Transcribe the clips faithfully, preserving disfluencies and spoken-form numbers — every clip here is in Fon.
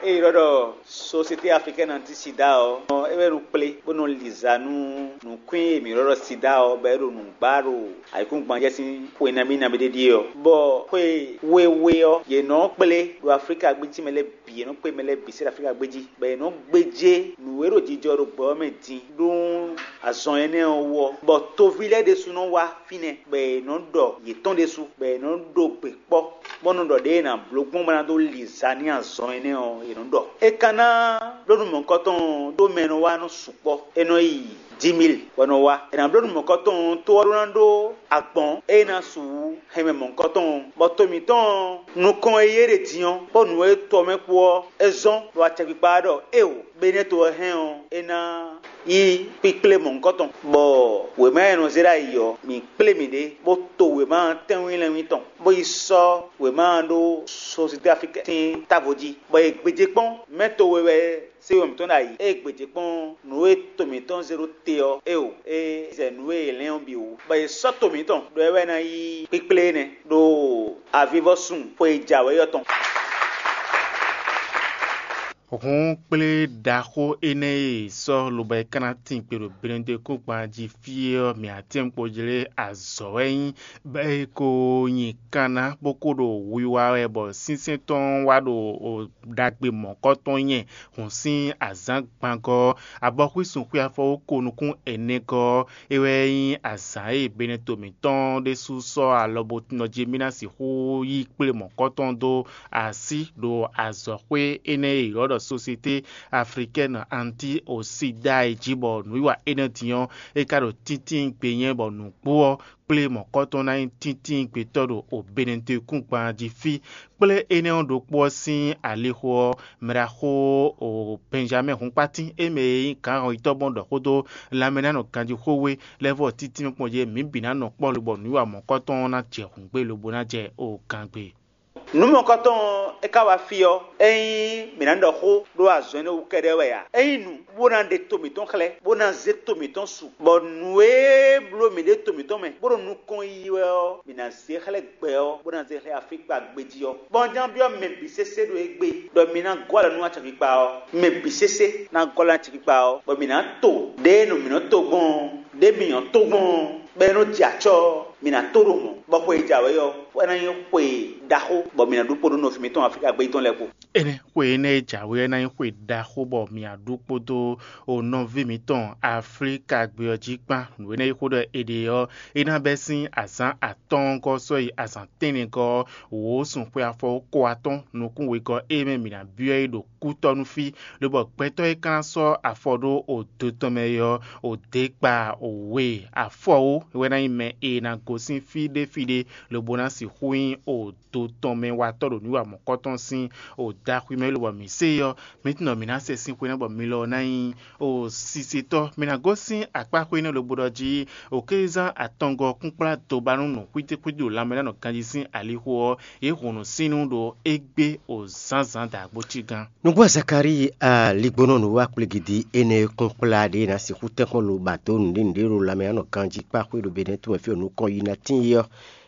É ylɔ́ ɖɔ Société Africaine Anti Sida ɔ́, é wɛ ɖo kplé bó nɔ li za nú nǔkwín e mǐ ylɔ́ ɖɔ sida ɔ́, bɔ é ɖo nǔ gbá ɖo ayǐkúngban jɛ sín xwe nabí nabí ɖé ɖíe ɔ́. Bɔ xwe wéwé ɔ́, yě nɔ kplé ɖo Aflíka gbéjí mɛ lɛ́ɛ bǐ, yě nɔ kplé mɛ lɛ́ɛ bǐ sɛ́ ɖo Aflíka gbéjí, bɔ yě nɔ gbéjé nǔ e ɖo jijɔ ɖo gbɛ ɔ́ mɛ din ɖó azɔn énɛ́ ɔ́ wú ɔ́, bɔ toví lɛ́ɛ ɖésú nɔ wá fínɛ́, bɔ è nɔ ɖɔ yětɔn ɖésú, bɔ è nɔ ɖo gbe kpɔ́, bó nɔ ɖɔ ɖěe è nǎ bló gbɔn bó ná dó li za n'i azɔn énɛ́ ɔ́, è nɔ ɖɔ. É ka ná bló nú mɔ̌hunkɔtɔn ɔ́, ɖó mɛ e nɔ wá nɔ sukpɔ́, é nɔ yi dix mille bɔ nɔ wá. È nǎ bló nú mɔ̌hunkɔtɔn ɔ́, tó ɔ́ ɖó ná ɖó agbɔ̌n e ná su wú hɛn mɛ mɔ̌hunkɔtɔn ɔ́, bɔ to mǐtɔn ɔ́, nukɔn e yé ɖe din ɔ́, kpó nǔ e to ɔ́ mɛ kpó ɔ́, é zɔ́n ɖo acɛkpikpa ɖɔ éeǒ, Benɛ́to ɔ́ hɛn ɔ́, é ná yí kpíkplé mɔ̌hunkɔtɔn, bɔ wěma e nɔ zé ɖ'ayǐ ɔ́, mǐ kplé mǐɖée, bó to wěma tɛ́nwínlɛ́nwín tɔn, bó yi sɔ́ wěma ɔ́ ɖó Société Africaine sín távo jí, bɔ è gbějé kpɔ́n mɛ to we wɛ sé yɔ mǐtɔn ɖ'ayǐ. Ée gbějé kpɔ́n nǔ e to mǐtɔn zé ɖó te ɔ́, éeǒ, é zɛ nǔ e è lɛ́n ɔ́ bǐ wú, bɔ è sɔ́ to mǐtɔn ɖɔ é wɛ ná yí kpíkplé énɛ́ ɖo avivɔ́sun xwe e jǎwe ɔ́ tɔn. Hǔn kplé ɖaxó énɛ́ e è sɔ́ lobo é ka ná tín gbe ɖo Benɛdekúngban jí fí é ɔ́, mǐ atɛ́nkpojlé azɔ̌ wɛ nyí, bɔ é ko nyi kanna bó ko ɖo wiwa wɛ, bɔ sínsɛ́n tɔn wá ɖo ɖagbe mɔ̌kɔ́tɔn nyɛ hǔn sín azǎn gbangɔ́ ɔ́, abɔxwísun xwé afɔ ko nukún ɛnɛgɔ́ ɔ́, é wɛ nyí azǎn e Benɛto mǐtɔn ɖésú sɔ́ alɔ bó nɔ jí mì ná sixú yí kplé mɔ̌kɔ́tɔn dó así ɖo azɔ̌xwé énɛ́ e è ylɔ́ ɖɔ Société Africaine Anti Osida é jí, bɔ nǔwiwa énɛ́ din ɔ́, é ka ɖo tíntín gbe nyɛ bɔ nǔgbó ɔ́, kplé mɔ̌kɔ́tɔn ná nyí tíntín gbetɔ́ ɖo Benɛto kúngban jí fí. Kplé énɛ́ ɔ́ ɖokpó ɔ́ sín alixo ɔ́, mɛɖaxó Bɛnjamɛ́ɛ Hunkpátín, é mɛ e nyí gǎn hɔnyitɔ́ gbɔn ɖɔ xó dó lanmɛ ná nɔ ganjí xó we lɛ́ɛ vɔ títí nukpɔ́n jí mǐ bǐ ná nɔ kpɔ́ lobɔ nǔwiwa mɔ̌kɔ́tɔn ɔ́ ná jɛ hǔngbé lobo ná jɛ o gangbe. Nǔ mɔ̌kɔtɔn ɔ́, é ka wá fí ɔ́, ényí mǐ ná ɖɔ xó ɖó azɔn énɛ́ wú kɛ́ɖɛ́ wɛ ǎ. Ényí nǔ bó ná ɖe to mǐtɔn xlɛ́, bó ná zé to mǐtɔn su, bɔ nǔ e bló mǐ ɖe to mǐtɔn mɛ, bó ɖo nukɔn yiyi wɛ ɔ́, mǐ ná zé xlɛ́ gbɛ ɔ́, bó ná zé xlɛ́ Aflíkpa gbéjí ɔ́. Bɔ un ján byɔ́ mɛ bǐ sésé ɖo égbé, ɖɔ mi ná gɔ́ alɔ nú acɛkpikpa ɔ́. Mɛ bǐ sésé ná gɔ́ alɔ nú acɛkpikpa ɔ́, bɔ mǐ ná to ɖěe nɔ mǐ nɔ to gbɔn ɔ́, ɖě mǐ nyɔ́ tó gbɔn ɔ́, bɔ é nɔ́ jɛ acɔ́ ɔ́, mǐ ná tó ɖo mɔ̌, bɔ xwe e jǎwe ɔ́, é ná nyí xwe ɖaxó, bɔ mǐ ná ɖu kpo nú nɔví mǐtɔn Aflíka gbéjí tɔn lɛ́ɛ kpó. Énɛ́ xwe énɛ́ e jǎwe ɔ́ ná nyí xwe ɖaxó, bɔ mì aɖu kpódó o nɔví mǐtɔn Aflíka gbé ɔ́ jí kpán. Nǔ énɛ́ e xó ɖɔ è ɖe ɔ́, é ná bɛ́ sín azǎn atɔ́ɔ́ngɔ́ sɔ́ yi azǎn tɛ́nnɛgɔ́ ɔ́, wǒ sun xwe afɔ ko atɔ́ɔ́n nukún wegɔ́ e mɛ mǐ ná byɔ́ é ɖo kútɔ́ nú fí, lobɔ gbɛtɔ́ e ka ná sɔ́ afɔ ɖó odo tɔn mɛ é ɔ́, odě kpa we afɔwó wɛ ná nyí mɛ e ná gosín fí ɖé fí ɖé, lobo ná sixú nyí odo tɔn mɛ watɔ́ ɖo nǔ wa mɔ̌kɔtɔn sín odaxwí mɛ, lobɔ mǐ se ɔ́, mǐ tunɔ mǐ ná se sín xwe ná bɔ mi lɔ ná nyí o sisetɔ́. Mi ná gosín akpá xwé nɛ́ lobo ɖɔ jí, o kézán atɔngɔ́ kúnkplá dobanú nǔ xwítíxwítí ɖo lanmɛ ná nɔ ganjí sín alixo ɔ́, yě hun nǔsínnú ɖo égbé o zǎnzǎn dǎgbó cí gán. Nǔgbó Zakalíi aligbónɔ nǔ wa kplégidi énɛ́ e kún kplá ɖě ná sixú tɛ́nkpɔ́n lo ba dó nǔɖé nǔɖé ɖo lanmɛ ɔ́ nɔ ganjí kpá xwé ɖo Benɛ́ tomɛ fí e nǔkɔn yi ná tín é ɔ́,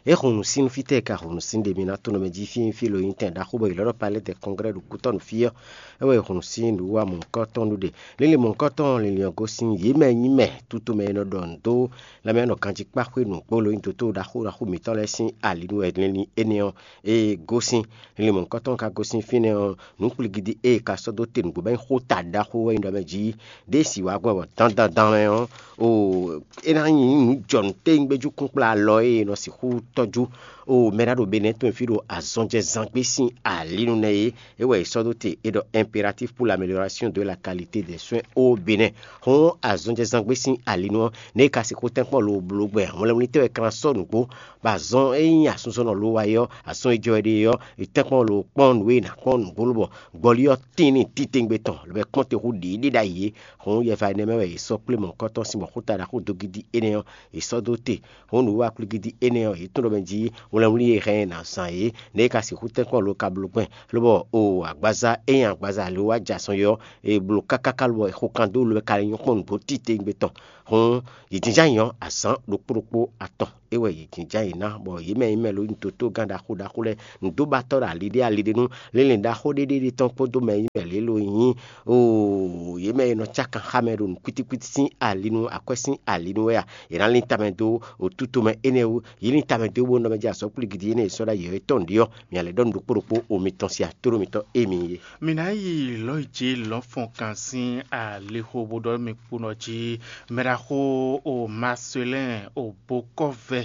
é hun nǔsín fítɛ́ e ka hun nǔsín ɖe mi ná tónú mɛ jí fínfín lo nyí tɛn ɖaxó bɔ è lɔ̌ ɖɔ palɛ́ de kɔnglɛ́ ɖo kútɔ́ nú fí ɔ́, é wɛ è hun nǔsín nǔ wa mɔ̌hunkɔtɔn ɖu ɖe. Linlin mɔ̌hunkɔtɔn linlin ɔ́ gosín yě mɛ nyí mɛ tutu mɛ e nɔ ɖɔ nǔ dó lanmɛ ɔ́ nɔ ganjí kpá xwé nǔgbó lo nyí dotó ɖaxó ɖaxó mǐtɔn lɛ́ɛ sín ali nú wɛ linlin énɛ́ ɔ́, é gosín. Linlin mɔ̌hunkɔtɔn ka gosín fínɛ́ ɔ́, nǔ kplígídí e è ka sɔ́ dó te nǔgbó bɔ é nyí xó ta ɖaxó wɛ nyí ɖɔ mɛ jí ɖěe sì wǎ gbɔn bɔ dandandan mɛ ɔ́, o é ná nyí nǔ jɔnǔ téwúngbéjú kúnkplá alɔ e è nɔ sixú tɔ́jú o mɛ ɖá ɖo Benɛ́ tɔn fí ɖo azɔnjɛzángbé sín alinu nɛ́ é, é wɛ è sɔ́ dó te è ɖɔ impératif pour l'amélioration de la qualité des soins au Bénin. Hɔn azɔnjɛzángbé sín alinu ɔ́, nɛ̌ è ka sixú tɛ́nkpɔ́n lo bló gbɛ hwlɛngblítɛ́ wɛ kan sɔ́ nǔgbó bɔ azɔn e nyí asunzɔnnɔ lo wa é ɔ́, azɔn e jɔ wɛ ɖe é ɔ́, è tɛ́nkpɔ́n lo kpɔ́n nǔ e è nǎ kpɔ́n nǔgbó lobɔ gbɔlí ɔ́ tín n'i titewungbe tɔn, lobo é kpɔ́n te hú ɖiɖí ɖ'ayǐ é. Hɔn yɛva énɛ́ mɛ wɛ è sɔ́ kplé mɔ̌hunkɔtɔn sín mɔ̌xúta ɖaxó dogidi énɛ́ ɔ́, è sɔ́ dó te. Hɔn nǔwiwa kplígídí énɛ́ ɔ́, yě tunwun ɖɔ mɛ jí wlɛnwlí e hɛn ɛ ná zán é, nɛ̌ é ka sixú tɛ́nkpɔ́n lo ka bló gbɛn, lobɔ o agbaza e nyí agbaza ali wá jɛ azɔn é ɔ́, è blǒ káká lobɔ è xo kan dó lo wɛ ka lɛ́ nyɔ́ kpɔ́n nǔgbó titewungbe tɔn. Hɔn yě jínjɔ́n ayǐ ɔ́, azǎn ɖokpó ɖokpó atɔn. é wɛ yě jínjɔ́n ayǐ ná, bɔ yě mɛ e nyí mɛ ló nyí dotó gán ɖaxó ɖaxó lɛ́ɛ, nǔdóbatɔ́ ɖo ali ɖé ali ɖé nú, linlin ɖaxó ɖé ɖé ɖé tɔn kpódó mɛ e nyí mɛ lě ló nyí, oo, yě mɛ e nɔ cá kan xá mɛ ɖo nǔ kwítíkwítí sín ali nu, akwɛ́ sín ali nu wɛ a? Yě ná lín tamɛ dó otúto mɛ énɛ́ wú, yě lín tamɛ dó bó nɔ mɛ jɛ azɔ̌ kplígidi énɛ́ e sɔ́ ɖ'ayǐ ɔ́, é tɔ́ nǔɖé ɔ́, mǐ ná lɛ́ ɖɔ nǔ ɖokpó ɖokpó o mitɔn sín atóɖó mitɔn émi é. Mǐ ná yi lɔ̌ yi jí lɔ̌nfɔnkan sín alixo bó ɖɔ mì kpónɔ jí, mɛɖaxó o Marcelin o bokɔ́vɛ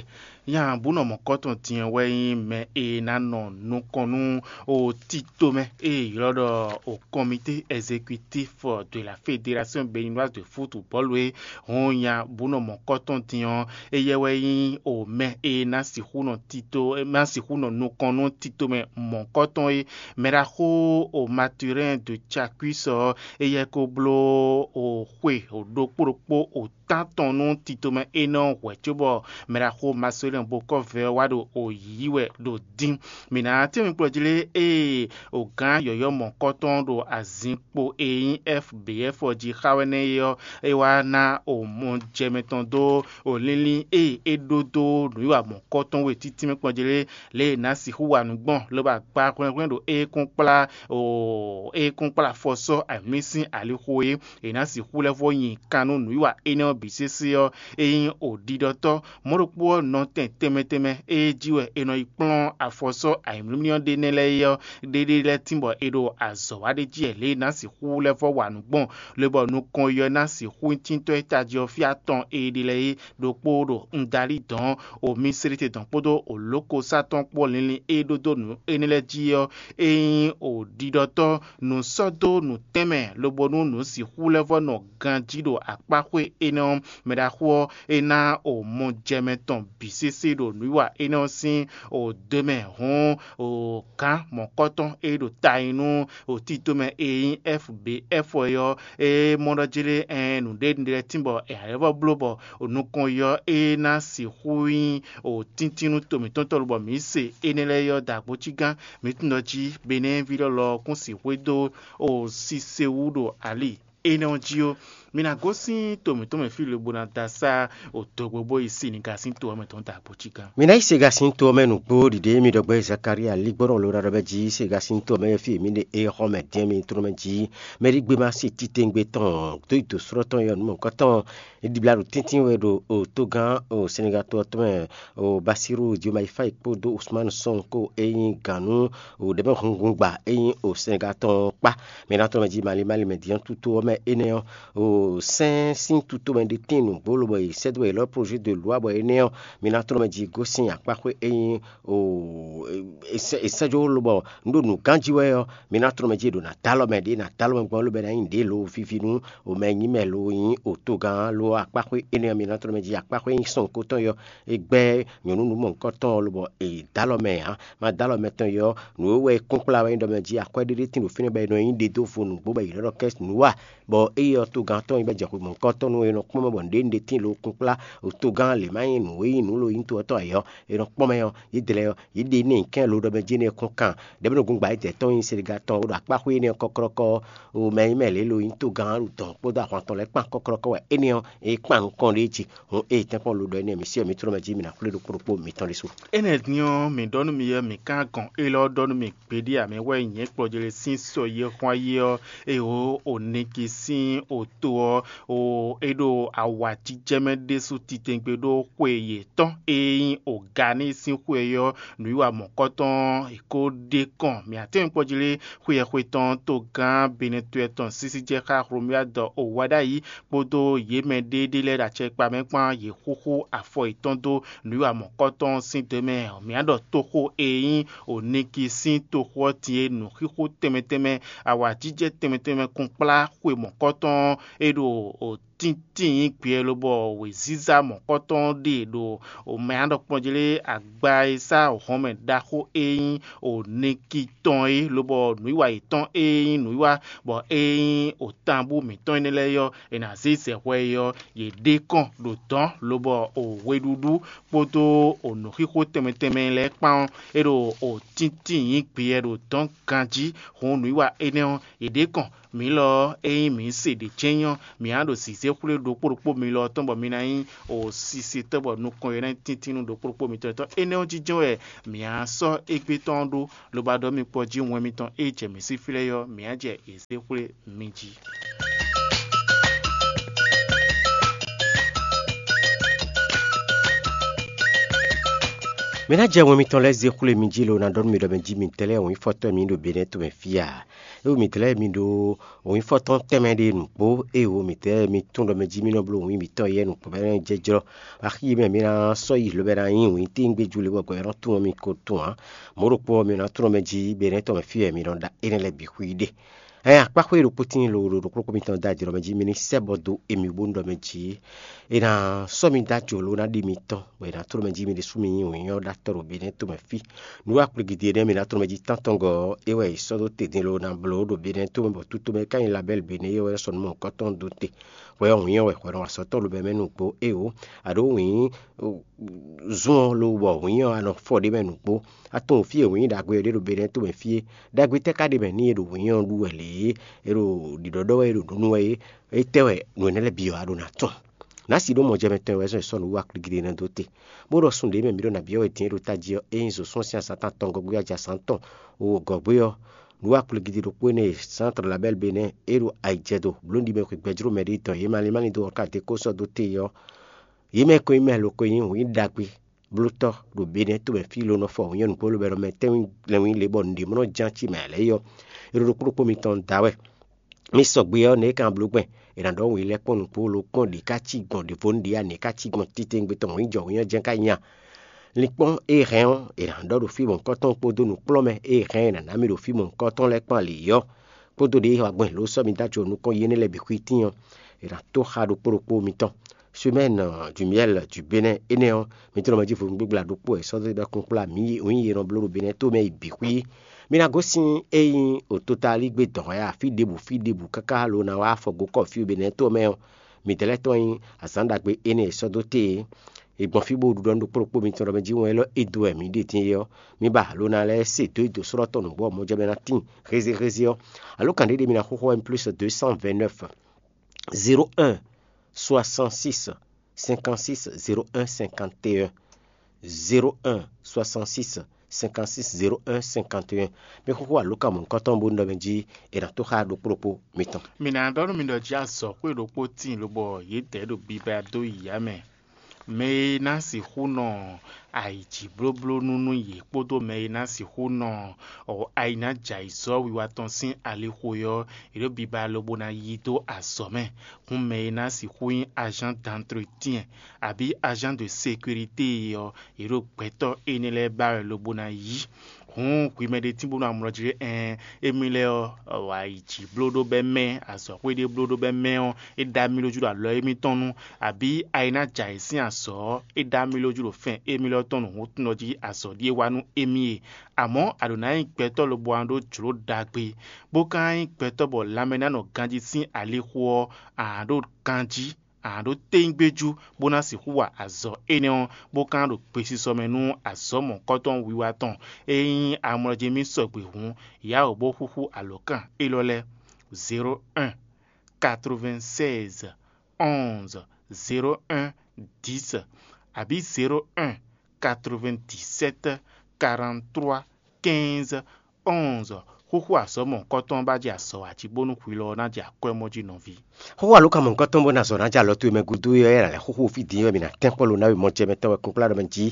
nya bú nɔ mɔ̌kɔ́tɔn din ɔ́ wɛ nyí mɛ e ná nɔ nukɔn nú o tito mɛ e è ylɔ́ ɖɔ o comité exécutif de la fédération béninoise de football é. Hɔn nya bú nɔ mɔ̌kɔ́tɔn din ɔ́, éyɛ́ wɛ nyí o mɛ e ná sixú nɔ tito ná sixú nɔ nukɔn nú tito mɛ mɔ̌kɔ́tɔn é. Mɛɖaxó o Mathurin de Chacuis ɔ́, éyɛ́ ko bló o xwe o ɖokpó ɖokpó o tántɔn nú tito mɛ énɛ́ ɔ́ hwɛ̌ cóbɔ mɛɖaxó Marcelin Bokɔ́vɛ ɔ́ wá ɖo o yǐyí wɛ ɖo dín. Mǐ ná tɛ́nmɛ kplɔ́ jí lé ée o gǎn yɔ̌yɔ́ mɔ̌kɔ́tɔn ɖo azinkpo e nyí F B F ɔ́ jí xa wɛ nɛ́ é ɔ́, é wá ná o mɔjɛmɛ tɔn dó o linlin e é ɖó dó nǔwiwa mɔ̌kɔ́tɔn we títínmɛ kplɔ́ jí lé, lě e è nǎ sixú wa nǔ gbɔn, lobo agba hwlɛ́nhwlɛ́n ɖo é kún kplá o é kún kplá afɔ sɔ́ ayǐmlí sín alixo é. È nǎ sixú lɛ́ vɔ́ nyi kan nú nǔwiwa énɛ́ ɔ́ bǐ sésé ɔ́, é nyí o ɖiɖɔtɔ́. Mɔ̌ ɖokpó ɔ́, nɔtɛn tɛnmɛ tɛnmɛ e jí wɛ è nɔ yi kplɔ́n afɔ sɔ́ ayǐmlímlí ɔ́ ɖe nɛ́ lɛ́ɛ é ɔ́, ɖéɖé lɛ́ɛ tínbɔ è ɖo azɔ̌ wa ɖ'é jí wɛ lě e è nǎ sixú lɛ́ vɔ́ wa nǔ gbɔn, lobɔ nukɔn yi ɔ́ ná sixú nyí tíntɔ́ e tají ɔ́ fí atɔn e ɖe lɛ́ɛ é ɖokpó ɖo Ŋdalí dɔ̌n, o Misirite dɔ̌n kpódó o lǒkosá tɔn kpó linlin e ɖó dó nǔ énɛ́ lɛ́ɛ jí ɔ́, é nyí o ɖiɖɔtɔ́ nǔ sɔ́ dó nǔtɛ́nmɛ, lobo nú nǔ sixú lɛ́ vɔ́ nɔ ganjí ɖo akpáxwé énɛ́ ɔ́. Mɛɖaxó ɔ́, é ná o mɔjɛmɛ tɔn bǐ sésé ɖo nǔwiwa énɛ́ ɔ́ sín o dó mɛ hɔn o gǎn mɔ̌kɔ́tɔn e ɖo ta nyi nú o tito mɛ e nyí F B F ɔ́ é ɔ́, é mɔ ɖɔ jí lé ɛn nǔɖé nǔɖé lɛ́ɛ tín bɔ è nǎ lɛ́ vɔ́ bló bɔ o nukɔn yi ɔ́, é ná sixú nyí o tíntín nú to mǐtɔn tɔn lobɔ mǐ se énɛ́ lɛ́ɛ é ɔ́ da agbo cí gán. Mǐ tunwun ɖɔ jí Benɛ́ɛví lɔ́lɔ́ ɔ́ kún sixú e dó o Sisewú ɖo ali énɛ́ ɔ́ jí ó. Mi ná gosín to mǐtɔn mɛ fí lobo ná da sá o dogbo bó yi Siniga sín to ɔ́ mɛ tɔn da agbo cí gán. Mi ná yi Sega sín to ɔ́ mɛ nǔgbó ɖiɖe mi ɖɔ gbɛ Zakalía lígbɔ́nɔ ló ɖaɖɔ bɛ jí Sega sín to ɔ́ mɛ fí mi ɖe é xɔ mɛ dín mi trɔ́n mɛ jí. Mɛ ɖi gbé ma se titewungbe tɔn dó yi dǒ slɔ́ tɔn yɔ nǔ mɔ̌kɔtɔn. Ɖibla ɖo tíntín wɛ ɖo o tógán o Senegal to ɔ́ tɔn mɛ o Basiru Diomaye Faye kpódó Ousmane Sonko e nyí gǎn nú o ɖɛ̌mɛ hunhun gba e nyí o Senegal tɔn ɔ́ kpá. Mi ná tɔn mɛ jí Mali Mali mɛ dín ɔ́ tuto ɔ́ mɛ énɛ́ ɔ́ o sɛ́n sín tuto mɛ ɖé tín nǔgbó lobɔ yi sɛ́ dó wɛ è lɔ́ projet de loi bɔ énɛ́ ɔ́ mi ná tɔn mɛ jí gosín akpáxwé e nyí o è sɛ́ è sɛ́ jó lobɔ un ɖo nǔgán jí wɛ ɔ́, mi ná tlɔ́n mɛ jí è ɖo ná dó alɔ mɛ ɖě ná dó alɔ mɛ gbɔn lóbɛ́ ná nyí ɖě lǒ víví nú o mɛ nyí mɛ lo nyí o togán lo akpáxwé énɛ́ ɔ́, mi ná tlɔ́n mɛ jí akpáxwé nyí sɔn kótɔn yɔ é gbɛ́ nyɔ̌nu nǔ mɔ̌hunkɔtɔn ɔ́ lobɔ è dó alɔ mɛ ǎ. Ma dó alɔ mɛ tɔn yɔ nǔ e wɛ é kún kplá wɛ nyí ɖɔ mɛ jí akwɛ́ ɖé ɖé tín ɖo fínɛ́ bɔ è nɔ nyí ɖe dó vo nǔgbó bɔ è nǎ ɖɔ kɛ́ nǔ wa, bɔ ée ɔ́ togán tɔn nyí bɔ jɛ xwe mɔ̌hunkɔtɔn nú é nɔ kpɔ́n mɛ bɔ nǔɖé nǔɖé tín lo kún kplá o togán lě má nyí nǔ e nyí nǔ lo nyí to ɔ́ tɔn ǎ ɔ́, è nɔ kpɔ́n mɛ ɔ́, yědɛɛ ɔ́, yě ɖe nɛ́ kɛ́n lo ɖɔ mɛ jí nɛ́ kún kan ɖɛ̌ bɔ nɔ gungba yědɛɛ tɔn nyí Senegal tɔn ɖo akpáxwé énɛ́ ɔ́ kɔ́klɔ́kɔ́ ɔ́, o mɛ nyí mɛ lě lo nyí togán ɖo dɔn kpódó ahwan tɔn lɛ́ɛ kpan kɔ́klɔ́kɔ́ wɛ énɛ́ ɔ́, é kpan nukɔn ɖ'é jí. Hǔn ée tɛ́nkpɔ́n lo ɖɔ énɛ́ mi sí wɛ mi tló mɛ jí mi ná xwlé ɖokpó ɖokpó mitɔn ɖésú. Énɛ́ din ɔ́, mǐ ɖɔ nú mi ɔ́, mǐ ka gɔn élɔ́ ɖɔ nú mi gbeɖé ǎ, mɛ wɛ nyɛ̌ kplɔ́jlɛ́ sín sɔ yi e xwán yi ɔ́, ée o Oniki sín oto ɔ́, o é ɖo awǎjijɛ mɛ ɖésú titewungbe ɖó xwe yětɔn e nyí Oganí sín xwe ɔ́, nǔwiwa mɔ̌kɔtɔn è ko ɖe kɔn mǐ atɛ́nwúnkpɔ́jlé xweyɛxwe tɔn togán Benɛtɔ́ tɔn sísí jɛ xá Hlomyád Owaɖayi kpódó yě mɛ ɖéɖé lɛ́ɛ ɖo acɛkpa mɛ kpán yě xúxú afɔ yětɔn dó nǔwiwa mɔ̌kɔtɔn sín dɔ̌ mɛ. Mǐ á ɖɔ toxo e nyí Oniki sín toxo ɔ́ din e nǔxixo tɛnmɛ tɛnmɛ, awǎjijɛ tɛnmɛ tɛnmɛ kún kplá xwe mɔ̌kɔtɔn e ɖo tíntín nyí gbɛ lobɔ wěziza mɔ̌kɔtɔn ɖe ɖo mɛ á ɖɔ kpɔ́n jí lé agba e sá hɔnmɛ ɖaxó e nyí Oniki tɔn é, lobɔ nǔwiwa yětɔn e nyí nǔwiwa bɔ e nyí otanbú mǐtɔn énɛ́ lɛ́ɛ ɔ́, è nǎ zé zɛ hwɛ é ɔ́, yě ɖe kɔn ɖo dɔ̌n lobɔ o weɖúɖú kpódó o nǔxixo tɛnmɛ tɛnmɛ lɛ́ɛ kpán ɔ́, é ɖo o tíntín nyǐ gbeyɛ ɖo dɔ̌n ganjí. Hǔn nǔwiwa énɛ́ ɔ́, yě ɖe kɔn mǐ lɔ ɔ́, ényí mǐ se ɖě jɛ́n nyí ɔ́, mǐ á ɖo zǐzé zěxwlé ɖokpó ɖokpó mi lɔ tɔn bɔ mi ná nyí o sisitɔ́ bɔ nukɔn e ná nyí tíntín nú ɖokpó ɖokpó mitɔn tɔn. Énɛ́ ɔ́ jínjɔ́n wɛ mǐ á sɔ́ égbé tɔn ɔ́ ɖó, lobo ɔ́ ɖɔ mì kpɔ́ jí wɛn mitɔn e jɛ mǐ sí fí lɛ́ɛ ɔ́, mǐ á jɛ yě zé xwlé mi jí. Mi ná jɛ wɛn mitɔn lɛ́ɛ zé xwlé mi jí lo ná ɖɔ nú mi ɖɔ mɛ jí mi tɛ́ lɛ́ɛ wǐnfɔ́tɔ́ mi ɖo Benɛ́ tomɛ fí a? É wu mi tɛ́ lɛ́ɛ mi ɖó wǐnfɔ́tɔ́n tɛnmɛ ɖé nǔgbó, ée wo mi tɛ́ lɛ́ɛ mi tunwun ɖɔ mɛ jí mi nɔ bló wǐn mitɔn yɛ nukpɔ́ bɔ é nɔ jɛ́jlɔ́. Axi e mɛ mi ná sɔ́ yi lobɛ ná nyí wǐn tíngbéjú le bɔ gbɛ ɔ́ nɔ tunwun mi ko tunwun ǎ. Mɔ̌ ɖokpó ɔ́, mi ná tunwun mɛ jí Benɛ́ tomɛ fí wɛ mi nɔ ɖa énɛ́ lɛ́ɛ bǐ xwíí ɖe. Ɛn akpáxwé ɖokpó tíin lo ɖo ɖokpó ɖokpó mitɔn dó ajlɔ́ mɛ jí mi ní sɛ́ bɔ dó émí bónú ɖɔ mɛ jí è nǎ sɔ́ mi dó ajlo ná ɖi mitɔn, bɔ è nǎ tló mɛ jí mi ɖésú mi nyí wǐnyɔ́ ɖó atɔ́ ɖo Benɛ́ tomɛ fí. Nǔ akplɔ́gídí énɛ́ mi ná tló mɛ jí tántɔngɔ́ ɔ́, é wɛ è sɔ́ dó te din lo ná bló ɖo Benɛ́ tomɛ bɔ tútomɛ ka nyí Labɛ́li Benɛ́ é wɛ sɔ́ nú mɔ̌hunkɔtɔn dó te, bɔ é wɛ wǐnyɔ́ wɛ hwɛ nɔ wa sɔ́ tɔn lobɛ mɛ nukpó. Éeǒ, a ɖǒ wǐnyí zun ɔ́ lo bɔ wǐnyɔ́ a nɔ fɔ ɖ'é mɛ nukpó. A tunwun fí e wǐnyí ɖagbe ɔ́ ɖe ɖo Benɛ́ tomɛ fí é. Ɖagbe tɛ́ ka ɖ'é mɛ n'i e ɖo wǐnyɔ́ ɔ́ ɖu wɛ lě é? É ɖo ɖiɖɔ́ ɖɔ wɛ é ɖo nǔ nú wɛ é? Étɛ́ wɛ nǔ énɛ́ lɛ́ɛ bǐ ɔ́ a ɖó ná tunwun? Nǎ si ɖó mɔjɛmɛ tɔn e wɛ zɔn è sɔ́ nǔ wú akplígíɖé ná dó te, bó ɖɔ sun ɖě mɛ mǐ ɖo nǎ byɔ́ wɛ din é ɖo tají ɔ́, é nyí zǒsúnɔ sín azǎn tɔn atɔngɔ́ gbé wɛ ajǎ zǎn tɔn wowogɔ́ gbé ɔ́, nǔ akplígíɖí ɖokpó énɛ́ e Santr Labɛ́l Benɛ́ é ɖo ayǐjɛdo blǒ ɖi mɛ xwe gbɛjló mɛ ɖé dɔn yě malín malín dó ɔ́ ka dó kó sɔ́ dó te ɔ́, yě mɛ ko nyí mɛ lo ko nyí wǐn ɖagbe blótɔ́ ɖo Benɛ́ tomɛ fí lo nɔ fɔ wǐnyɔ́ nǔgbó lobɛ́ nɔ mɛ tɛ́nwún lɛ́nwún lě bɔ nǔɖé mɔ nɔ ján cí mɛ ǎ lɛ́ɛ é ɔ́, é ɖo ɖokpó ɖokpó mitɔn da wɛ. Mi sɔgbe ɔ́, nɛ̌ é ka bló gbɛn? È nǎ ɖɔ wǐn lɛ́ kpɔ́n nǔgbó lo kpɔ́n ɖě ká cí gbɔn ɖěvo nǔ ɖé a nɛ̌ ká cí gbɔn titewungbe tɔn wǐnjɔ wǐnyɔ́ jɛ́n ká nya. Linkpɔ́n e hɛn ɔ́, è nǎ ɖɔ ɖo fí mɔ̌hunkɔtɔn kpódó nǔkplɔ́nmɛ e hɛn è nǎ ná mì ɖo fí mɔ̌hunkɔtɔn lɛ́ɛ kpán lě ɔ́, kpódó ɖě e wa gbɔn lǒ sɔ́ mi dó ajo nukɔn yi énɛ́ lɛ́ɛ bǐ xwítín ɔ́, è nǎ tó xá ɖokpó ɖokpó mitɔn. Semɛ́n du myɛ́l du Benɛ́ énɛ́ ɔ́, mi tlɔ́ mɛ jí vodún gbígbla ɖokpó wɛ è sɔ́ dó ɖɔ kplɔ́nkplɔ́n amǐ wǐn yi e nɔ bló ɖo Benɛ́ tomɛ yi bǐ xwí. Mi ná gosín ényí ototaligbé dɔ̌n wɛ afí ɖěbǔ fí ɖěbǔ káká lo ná wá afɔgokɔ́ fí Benɛ́ tomɛ ɔ́, midɛɛ lɛ́ɛ tɔn nyí azǎn ɖagbe énɛ́ e è sɔ́ dó te é. È gbɔn fí bó ɖu ɖɔ nú ɖokpó ɖokpó mitɔn ɖɔ mɛ jí wɛn élɔ́ e dó wɛ mǐ ɖe din é ɔ́, mi ba alo ná lɛ́ɛ se dó yi dǒ slɔ́ tɔn nǔgbó ɔ́ mɔjɛmɛ ná tíin hézéhézé ɔ́. Alo kan ɖé ɖé mi ná xóxó wɛ mi plus deux cent vingt neuf, zéro un, soixante six, cinquante six, zéro un, cinquante et un, zéro un, soixante six, cinquante six, zéro un, cinquante et un. Mi xóxó alǒkan mɔ̌hunkɔtɔn bó nɔ mɛ jí è nǎ tó xá ɖokpó ɖokpó mitɔn. Mi ná ɖɔ nú mi ɖɔ jí azɔ̌xwé ɖokpó tíin lobɔ yě dɛ̌ ɖo biba dó yi yǎ mɛ. Mɛ e ná sixú nɔ ayǐjǐblóblónú nú yě kpódó mɛ e ná sixú nɔ ayi ná jɛ ayǐzɔ́ wiwa tɔn sín alixo é ɔ́, yě ɖo biba lobo ná yí dó azɔ̌ mɛ. Hǔn mɛ e ná sixú nyí agent d'entretien abǐ agent de sécurité é ɔ́, yě ɖo gbɛtɔ́ énɛ́ lɛ́ɛ ba wɛ lobo ná yí. Hǔn hwi mɛ ɖé tín bó nɔ amlɔ jí ɖé ɛɛn, émí lɛ́ɛ ɔ́, wa yi jǐ bló ɖó bɛ́ mɛ, azɔ̌xwé ɖé bló ɖó bɛ́ mɛ ɔ́, é ɖó amlɔ jí ɖo alɔ émítɔn nu, abǐ ayi ná jɛ ayǐ sín azɔ̌ ɔ́, é ɖó amlɔ jí ɖo fɛn émí lɛ́ɛ tɔn nǔhúntunɔ jí azɔ̌ ɖíe wa nú émí e. Amɔ̌ a ɖǒ ná nyí gbɛtɔ́ lobo ná ɖó jlǒ ɖagbe, bó ka ná nyí gbɛtɔ́ bɔ lanmɛ ná nɔ ganjí sín alixo ɔ́, a nǎ ɖo ganjí, a nǎ ɖó téyígbéjú bó ná sixú wa azɔ̌ énɛ́ ɔ́, bó ka ná ɖo gbesisɔ mɛ nú azɔ̌ mɔ̌hunkɔtɔn wiwa tɔn. Ényí amlɔ jí mì sɔgbe hǔn, yǎ wǒ bó xúxú alǒkan élɔ́ lɛ́ɛ: zéro un, quatre-vingt-seize, onze, zéro un, dix, abǐ zéro un, quatre-vingt-dix-sept, quarante-trois, quinze, onze. Xúxú azɔ̌ mɔ̌hunkɔtɔn ba jɛ azɔ̌ wa jí bónú hwi lɔ ɔ́ ná jɛ akwɛ́mɔ́ jí nɔví. Xóxó alǒkan mɔ̌hunkɔtɔn bó ná zɔ ná jɛ alɔ towe mɛ gúdo é ɔ́, é ná lɛ́ xúxú fí din é wɛ mǐ ná tɛ́nkpɔ́n lo ná we mɔjɛmɛtɔn wɛ kunkplá ɖɔ mɛ jí.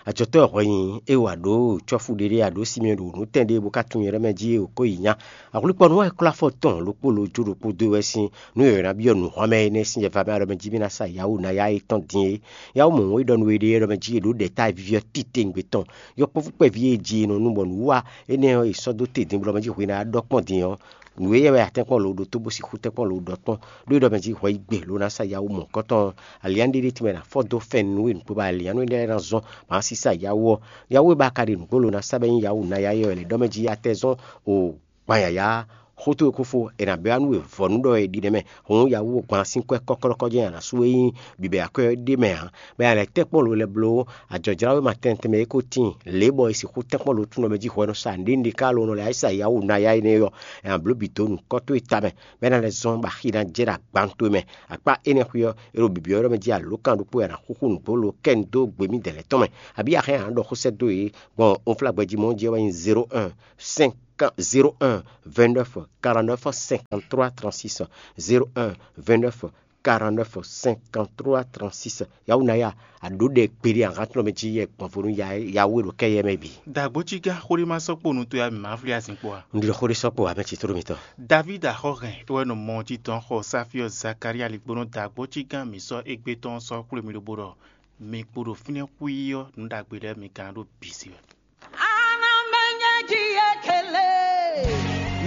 Ajɔtɔ́ e hwɛ nyi é wa ɖǒ cɔ́fu ɖé ɖé aɖǒ Simeɔn ɖo nǔ tɛn ɖé bó ka tunwun nyɛ ɖɔ mɛ jí è ko yi nya. Ahwlíkpɔ́nú wɛ klɔ́ afɔ tɔn ɖokpó lo jó ɖokpó dó wɛ sín nú è ná byɔ́ nǔhɔ́mɛ énɛ́ sín yɛva mɛ ɖɔ mɛ jí mì ná sa Yawu ná ya étɔn din é. Yawu mɔ̌ e ɖɔ nú we ɖe é ɖɔ mɛ jí è ɖǒ ɖɛ̌ta e víví ɔ́ titewungbe tɔn. Yɔkpɔ́vú kpɛví e jí è nɔ nu bɔ nǔwiwa énɛ́ ɔ́ è sɔ́ dó te din bó ɖɔ mɛ jí hwi ná ɖɔ kpɔ́n din ɔ́, nǔ e wɛ a tɛ́nkpɔ́n lo ɖó tó bó sixú tɛ́nkpɔ́n lo ɖɔ kpɔ́n, ɖó é ɖɔ mɛ jí hwɛ yi gbe lo ná sa Yawu mɔ̌hunkɔtɔn ɔ́, alianɖéɖé tɛnmɛ ná fɔ dó fɛn nú we nǔkpó bɔ alianú énɛ́ lɛ́ɛ ná zɔ́n bǎ sísá Yawu ɔ́. Yawu e ba ka ɖe nǔgbó lo ná sa bɔ é nyí Yawu ná ya é wɛ lɛ̌ ɖɔ mɛ jí a tɛ zɔ́n o gban yǎyá Xó towe kó fó, è nǎ bɛ́ wá nú we vɔ̌nu ɖɔ è ɖi nɛ́ mɛ. Hǔn yǎwú gban sín kwɛ́ kɔ́klɔ́kɔ́ jɛ́n a nǎ sú e nyí bǐbɛ́ akwɛ́ ɔ́ ɖ'é mɛ ǎ. Mɛ a lɛ̌ tɛ́nkpɔ́n lo lɛ́ɛ bló, ajɔ̌jláwéma tɛnmɛ tɛnmɛ e ko tíin lě bɔ è sixú tɛ́nkpɔ́n lo tún nɔ mɛ jí hwɛ nɔ sa nǔɖé nǔɖé ká lo nɔ lɛ́ sa yǎwú ná yá énɛ́ ɔ́, è nǎ bló bǐ dó nǔkɔ́ towe tamɛ, bɔ é ná lɛ́ zɔ́n bɔ axi ná jɛ ɖo agban towe mɛ. Akpá énɛ́ xwé ɔ́, è ɖo bǐbí ɔ́ ɖɔ mɛ jí alǒkan ɖokpó e a nǎ xúxú nǔgbó lo kɛ́n dó gbemídɛɛ lɛ́ɛ tɔn mɛ. Abǐ a hɛn a nǎ ɖɔ xó sɛ́ dó yě gbɔn unflágbɛjí mɔ́ jí ɔ́ wɛ nyí zéro un cinq zéro un vingt neuf quarante neuf cinquante trois trente six, zéro un vingt neuf quarante neuf cinquante trois trente six. Yawunaya, a ɖǒ ɖɛ kpeɖé ahantlɔ́ mɛ jí yɛ gbɔnvo nú Yawe ɖo kɛ́yɛ mɛ bǐ. Dǎgbócígán xóɖémasɔ́kponu towe wɛ mǐ ma vlí azinkpo ǎ. Un ɖi xó ɖé sɔ́ kpo ǎ mɛ citrómitɔ. Davídi axɔ́hɛn é wɛ nɔ mɔ ɔ́ jí dɔn xɔ Sáfíɔ Zakalía ligbónɔ dǎgbócígán mǐ sɔ́ égbé tɔn ɔ́ sɔ́ xwlé mì lobo ɖɔ mi kpo ɖo fínɛ́ xwíí ɔ́, nǔ ɖagbe lɛ́ɛ mi ka ná ɖo bǐ se wɛ.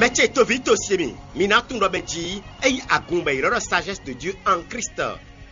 Mɛ ce toví to se mi, mi ná tunwun ɖɔ mɛ jí é nyí agun bɔ è ylɔ́ ɖɔ sagesse de Dieu en Christ.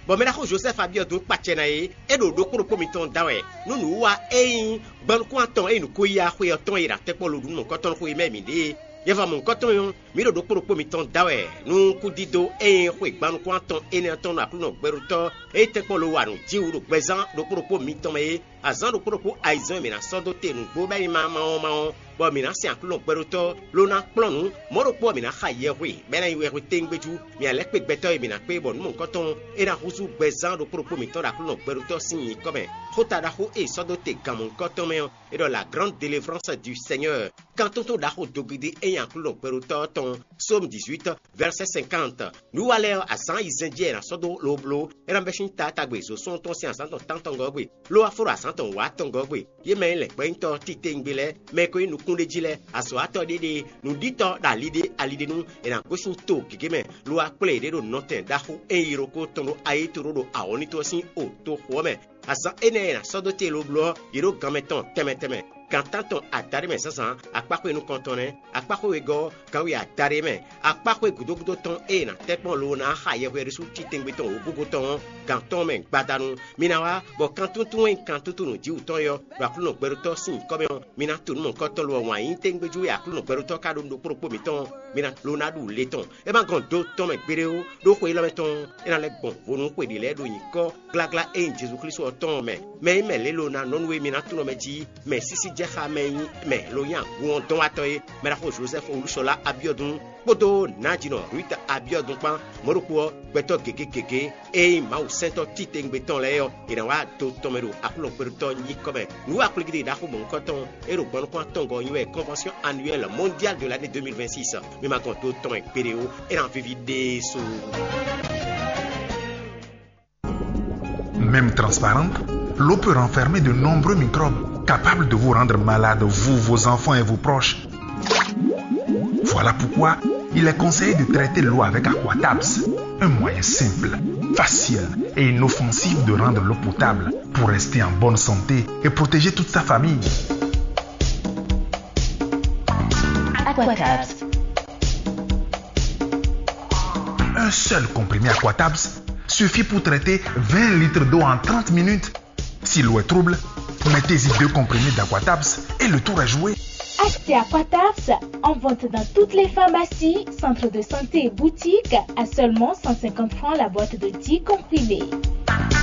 Bɔ mɛ ɖaxó Josɛ́fu Abiɔdu kpacɛ ná é, é ɖo ɖokpó ɖokpó mitɔn da wɛ, nú nǔwiwa é nyí gban nukún atɔn e nǔ ko yi axwe ɔ́ tɔn e ɖo atɛ́kpɔ́ lo ɖu nú mɔ̌hunkɔtɔn xwe mɛ mǐ ɖe é. Yɛ́fɔ mɔ̌hunkɔtɔn ɔ́, mǐ ɖo ɖokpó ɖokpó mitɔn da wɛ, nú kúdídó e nyí xwe gban nukún atɔn énɛ́ ɔ́ tɔn nɔ Aklúnɔ gbɛɖótɔ́ e tɛ́nkpɔ́n lo wa nǔ jí wú ɖo gbɛzán ɖokpó ɖokpó mitɔn mɛ é. Azǎn ɖokpó ɖokpó ayizɛ́n e mǐ ná sɔ́ dó te nǔgbó bɔ é nyí ma ma ɔ́ ma ɔ́, bɔ mǐ ná sɛn Aklúnɔ gbɛɖótɔ́ ló ná kplɔ́n nǔ. Mɔ̌ ɖokpó ɔ́, mǐ ná xa yɛhwe, bɔ é ná nyí wɛhwe téŋgbéjú. Mǐ ná lɛ́ kpe gbɛtɔ́ e mǐ ná kpé bɔ nǔ mɔ̌hunkɔtɔn ɔ́, é ná húzú gbɛzán ɖokpó ɖokpó mǐtɔn ɖo Aklúnɔ gbɛɖótɔ́ sín nyǐkɔ mɛ. Xóta ɖaxó e è sɔ́ dó te gan mɔ̌hunkɔtɔn mɛ ɔ́, é ɖɔ la grande délivrance du Seigneur. Kan tótó ɖaxó dogidi e nyí Aklúnɔ gbɛɖótɔ́ ɔ́ tɔn, Psaume dix-huit, verset cinquante. Nǔ wa lɛ́ɛ ɔ́, azǎn ayizɛ́n jí è nǎ sɔ́ dó lobló, é ná bɛ́ sín taatagbe zǒsɔ́ntɔn sín azǎn tɔn tántɔngɔ́ gbe, ló wá fó ɖo azǎn tɔn wǎtɔngɔ́ gbe. Yě mɛ e nyí lɛ̌ngbɔ́nyitɔ́ titewungbe lɛ́ɛ, mɛ e ko nyí nukúnɖéjí lɛ́ɛ, azɔ̌watɔ́ ɖéɖée, nǔɖítɔ́ ɖo ali ɖé ali ɖé nu, è nǎ gosín to gěgé mɛ, ló wá kplé yěɖée ɖo nɔtɛn ɖaxó e nyí yilókó tɔn ɖo Ayítoɖó ɖo awɔ̌nlín toxo ɔ́ mɛ. Azǎn énɛ́ e è nǎ sɔ́ dó te lobló ɔ́, yě ɖo gan mɛ tɔn tɛnmɛ tɛnmɛ. Gan tántɔn adaɖé mɛ zǎnzǎn, akpáxwé nukɔntɔn nɛ́, akpáxwé wegɔ́ ɔ́, gan we adaɖé mɛ, akpáxwé gǔdo gúdo tɔn e è nǎ tɛ́ kpɔ́n lo ná xa yɛhweɖésú titewungbe tɔn wǒgúngún tɔn ɔ́, gan tɔn mɛ gbadanu. Mi ná wá, bɔ kan túntún e kan túntún nǔjíwǔtɔn é ɔ́, ɖo Aklúnɔ gbɛɖótɔ́ sín nyǐkɔ mɛ ɔ́, mi ná tunú mɔ̌hunkɔtɔn lo ɔ́ wǎn yí tégbéjú e Aklúnɔ gbɛɖótɔ́ ka ɖó nú ɖokpó ɖokpó mǐtɔn ɔ́, mi ná lo ná ɖu le tɔn. É ma gɔn do tɔn mɛ gbeɖé ó, ɖó xwe élɔ́ mɛ tɔn ɔ́, é ná lɛ́ gbɔn vo nú xwe ɖě lɛ́ɛ ɖo nyǐkɔ gláglá e nyí Jezu Klísu ɔ́ tɔn ɔ́ mɛ. Mɛ e nyí mɛ lě lo ná nɔ nú e mi ná tunɔ mɛ jí, mɛ sísí jɛ xá mɛ e nyí mɛ lo nyí agun ɔ́ dɔn wá tɔn é, mɛ ɖaxó Jozɛ́fu Olúṣɔlá Abiɔdun kpódó nǎjínɔ Ruth Abiɔdun kpán, mɔ̌ ɖokpó ɔ́, gbɛtɔ́ gěgé gěgé e nyí Mawu sɛntɔ́ titewungbe tɔn lɛ́ɛ ɔ́, è nǎ wá do tɔn mɛ ɖo Aklúnɔ gbɛɖótɔ́ nyíkɔ mɛ. Nǔ wa kplígídí ɖaxó mɔ̌hunkɔtɔn e ɖo gbɔn nukún atɔngɔ́ ɔ́ nyi wɛ Convention Annuelle Mondiale de l'année deux mille vingt-six. Mi ma gɔn do tɔn mɛ gbeɖé ó, é ná víví ɖésú. Même transparente, l'eau peut renfermer de nombreux microbes capables de vous rendre malade, vous, vos enfants et vos proches. Voilà pourquoi il est conseillé de traiter l'eau avec Aquatabs, un moyen simple, facile et inoffensif de rendre l'eau potable pour rester en bonne santé et protéger toute sa famille. Aquatabs. Un seul comprimé Aquatabs suffit pour traiter vingt litres d'eau en trente minutes. Si l'eau est trouble, mettez-y deux comprimés d'Aquatabs et le tour est joué. Achetez Aquatabs en vente dans toutes les pharmacies, centres de santé et boutiques à seulement cent cinquante francs la boîte de dix comprimés.